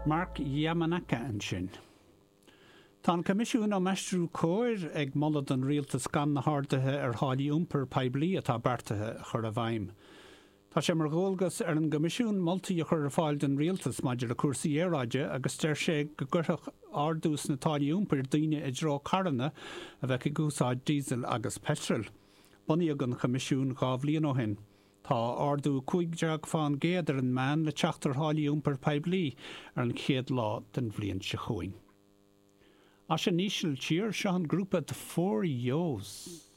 Mark Yamanaka ansin. Tá an Coimisiún um Aistriú Cóir ag moladh don Rialtas gan na harduithe ar tháillí iompair poiblí atá beartaithe a chur i bhfeidhm. Tá sé mar dhualgas ar an gCoimisiún moltaí a chur ar fáil don Rialtas maidir le cúrsaí aeráide agus deir sé go gcuirfeadh ardú sna táillí iompair daoine i dtreo carranna a bheadh ag úsáid díosail agus peitril. Bunaíodh an Coimisiún 2 bhliain ó shin. Tá ardú 15 fán gcéad ar an meán le teacht ar tháillí iompair poiblí ar an chéad lá den bhliain seo chugainn. As an Ísiltír, seo an grúpa The 4 Yo's.